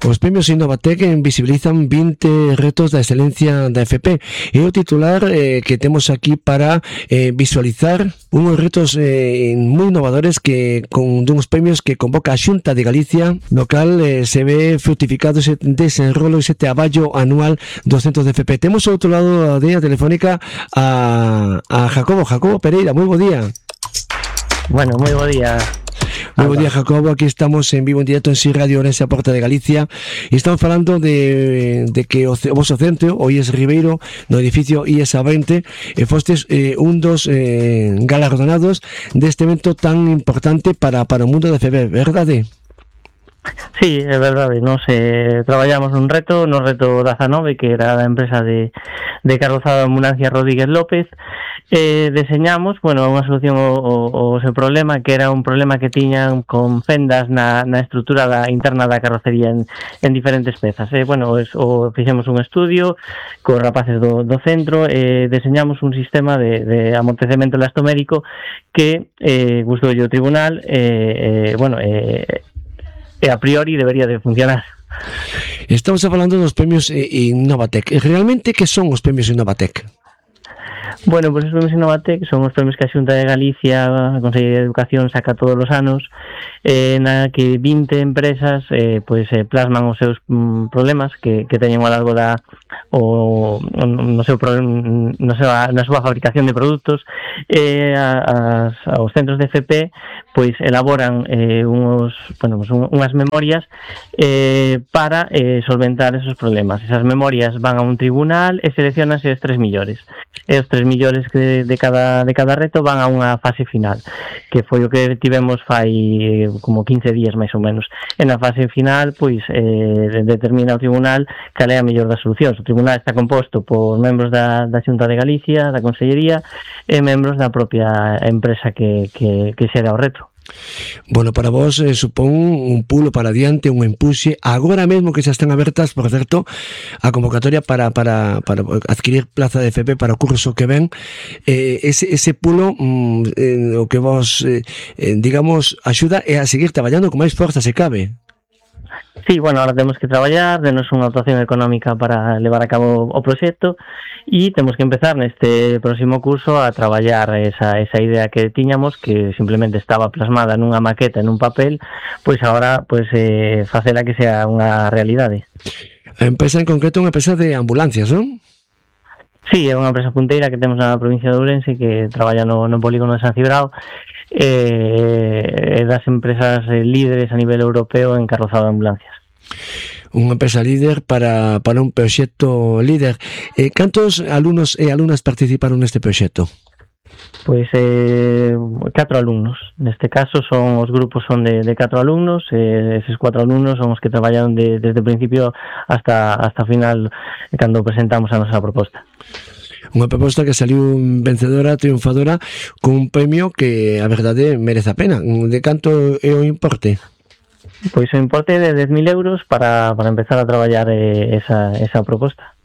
Os premios Innovatec visibilizan 20 retos da excelencia da FP. É o titular que temos aquí para visualizar unhos retos moi innovadores que con duns premios que convoca a Xunta de Galicia, no cal se ve fructificado ese desenrolo, ese traballo anual dos centros de FP. Temos ao outro lado da línea telefónica a Jacobo Pereira. Moi bo día. Bueno, moi bo día. Moi bo día, Jacobo. Aquí estamos en vivo en directo en Si Radio Ourense, a Porta de Galicia, e estamos falando de que o vosso centro, o IES Ribeiro, no edificio IES A20, fostes un dos galardonados deste evento tan importante para o mundo da FP, verdade? Sí, é verdade, nos traballamos no reto 19, que era da empresa de carrozado de ambulancia Rodríguez López. Deseñamos, unha solución ao seu problema, que era un problema que tiñan con fendas na estrutura interna da carrocería en diferentes pezas. Fixemos un estudio con rapaces do centro, deseñamos un sistema de amortecemento elastomérico que gustoulle o tribunal, a priori debería de funcionar. Estamos falando dos premios Innovatec. Realmente, que son os premios Innovatec? Bueno, pues os premios Innovatec son os premios que a Xunta de Galicia, a Consellería de Educación, saca todos os anos, na que 20 empresas plasman os seus problemas que teñen ao largo na súa fabricación de produtos. Os centros de FP elaboran unhas memorias para solventar esos problemas. Esas memorias van a un tribunal e seleccionanse os 3 millores. E os 3 millores de cada reto van a unha fase final, que foi o que tivemos fai como 15 días máis ou menos. En a fase final determina o tribunal cal é a mellor das solucións. O tribunal está composto por membros da Xunta de Galicia, da Consellería e membros da propia empresa que xera o reto. Bueno, para vos supón un pulo para adiante, un empuxe. Agora mesmo que xa están abertas, por certo, a convocatoria para adquirir plaza de FP para o curso que ven, ese pulo o que vos digamos axuda é a seguir traballando con máis forza se cabe. Sí, ahora temos que traballar, denos unha dotación económica para levar a cabo o proxecto e temos que empezar neste próximo curso a traballar esa idea que tiñamos, que simplemente estaba plasmada nunha maqueta, en un papel, agora facela que sea unha realidade. A empresa en concreto é unha empresa de ambulancias, non? Sí, é unha empresa punteira que temos na provincia de Ourense, que traballa no polígono de San Cibrao, das empresas líderes a nivel europeo en carrozado de ambulancias. Unha empresa líder para un proxecto líder. Cantos alumnos e alumnas participaron neste proxecto? 4 alumnos. Neste caso os grupos son de 4 alumnos, eses 4 alumnos son os que traballaron desde o principio hasta final, cando presentamos a nosa proposta. Unha proposta que saliu vencedora, triunfadora, con un premio que a verdade merece a pena. De canto é o importe? Pois o importe de 10.000 euros para empezar a traballar esa proposta.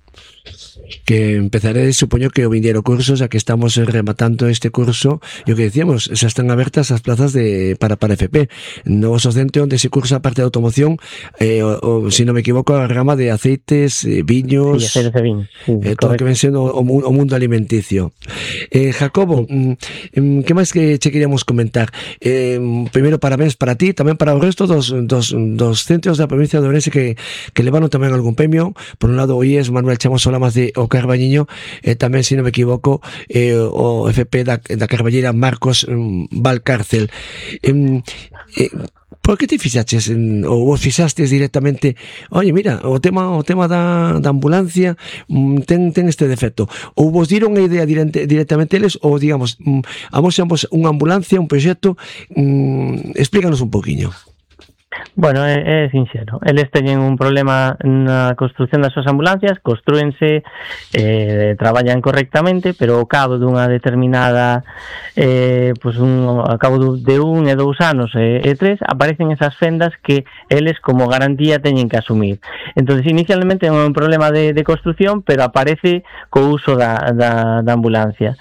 Que empezaré, supoño que o vindeiro curso, xa que estamos rematando este curso, e o que decíamos, xa están abertas as plazas para FP. No vosso centro onde se cursa a parte de automoción, se non me equivoco, a rama de aceites, viños, sí, aceites de viño, sí, todo o que ven sendo o mundo alimenticio. Jacobo, que máis que che queríamos comentar? Primeiro, parabéns para ti, tamén para o resto dos centros da provincia de Ourense que levaron tamén algún premio. Por un lado, o IES Manuel Chamos Solamas de o Carballiño, tamén, se non me equivoco, o FP da Carballeira Marcos Valcárcel. Por que te fixaches ou vos fixastes directamente? Oye, mira, o tema da ambulancia ten este defecto. Ou vos diron a idea directamente eles, ou digamos, amosamos unha ambulancia, un proxecto. Explícanos un poquinho. Bueno, é sinxero. Eles teñen un problema na construción das súas ambulancias, construense, traballan correctamente, pero ao cabo dunha determinada ao cabo de 1 e 2 anos e 3 aparecen esas fendas que eles como garantía teñen que asumir. Entonces, inicialmente é un problema de construción, pero aparece co uso da ambulancia.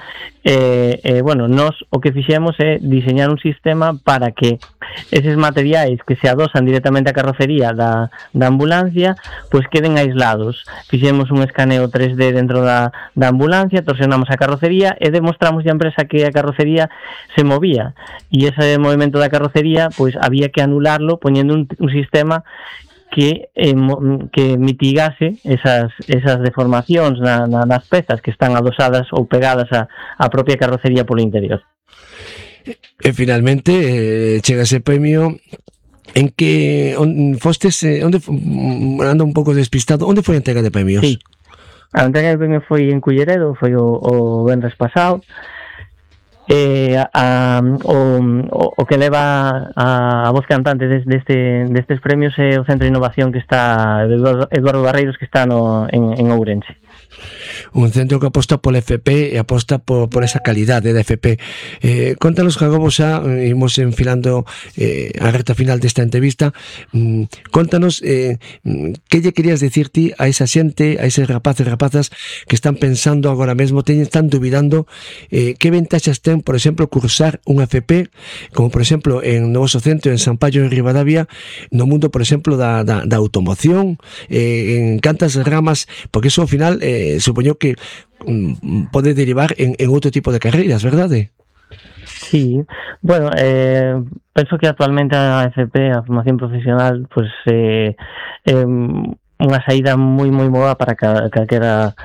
Nos o que fixemos é diseñar un sistema para que eses materiais que se adosan adosan directamente a carrocería da ambulancia, pois queden aislados. Fixemos un escaneo 3D dentro da ambulancia, torsionamos a carrocería e demostramos a empresa que a carrocería se movía, e ese movimento da carrocería pois había que anularlo poñendo un sistema que mitigase esas deformacións nas pezas que están adosadas ou pegadas á propia carrocería polo interior. E finalmente chega ese premio en que fostes, onde ando un pouco despistado, onde foi a entrega de premios? Sí, a entrega de premios foi en Culleredo, foi o venres pasado. O que leva a voz cantante destes premios é o Centro de Innovación que está Eduardo Barreiros, que está en Ourense. Un centro que aposta pola FP e aposta por esa calidade da FP. Contanos, Jacobo, xa imos enfilando a recta final desta entrevista. Contanos que lle querías decir ti a esa xente, a eses rapaces e rapazas que están pensando agora mesmo, están dubidando que ventaxas ten, por exemplo, cursar unha FP, como por exemplo en no vosso centro en San Pallo en Ribadavia, no mundo, por exemplo, da automoción, en cantas ramas, porque eso ao final supoño que pode derivar en outro tipo de carreiras, verdade? Sí, bueno, penso que actualmente a FP, a formación profesional, pues unha saída moi boa para calquera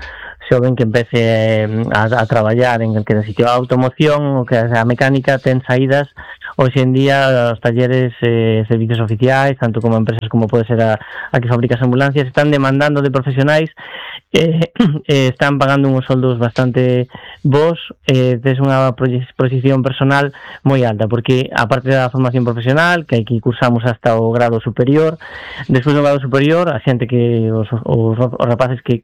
xoven que empece a traballar en calquera sitio. A automoción, o que a mecánica, ten saídas hoxe en día, os talleres, servicios oficiais, tanto como empresas como pode ser a que fabrica as ambulancias, están demandando de profesionais, están pagando uns soldos bastante bons, tes unha proxección personal moi alta, porque aparte da formación profesional, que hai que cursamos hasta o grado superior, despois do grado superior, a xente que os rapaces que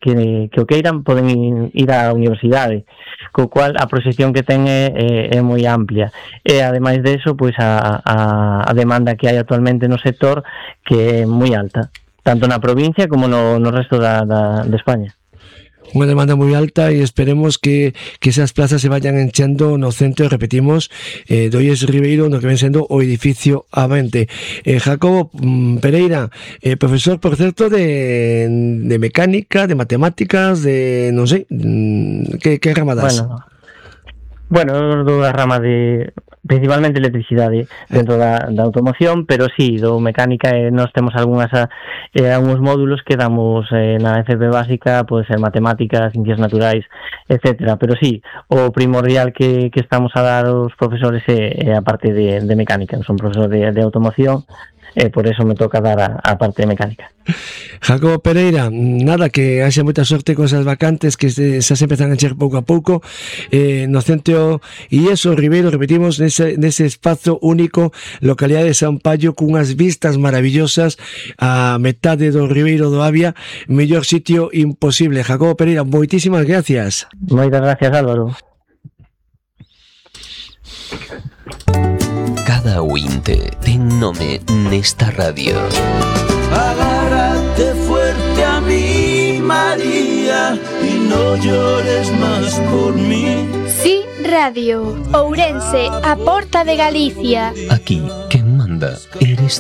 o queiran poden ir á universidade, co cual a proxección que ten é moi amplia, e ademais de eso, pois a demanda que hai actualmente no sector, que é moi alta, tanto na provincia como no resto de España. Unha demanda moi alta e esperemos que esas plazas se vayan enchendo no centro, repetimos, do IES Ribeiro, no que ven sendo o edificio A20. Jacobo Pereira, profesor, por certo, de mecánica, de matemáticas, de, non sei, que rama das? Bueno, da rama de principalmente electricidade dentro da automoción, pero sí, do mecánica nós temos algúns módulos que damos na FP básica, pode ser matemáticas, ciencias naturais, etcétera, pero sí, o primordial que estamos a dar aos profesores é a parte de mecánica. Son profesor de automoción, e por eso me toca dar a parte de mecánica. Jacobo Pereira, nada, que haxa moita sorte con esas vacantes que xa se empezan a encher pouco a pouco no centro IES Ribeiro, repetimos, nese espazo único, localidade de San Pallo, cunhas vistas maravillosas a metade do Ribeiro do Avia, mellor sitio imposible. Jacobo Pereira, moitísimas gracias. Moitas gracias, Álvaro. Cada ointe ten nome nesta radio. Agárrate fuerte a mí, María, y no llores más por mí. Sí, Radio Ourense, a porta de Galicia. Aquí, quen manda eres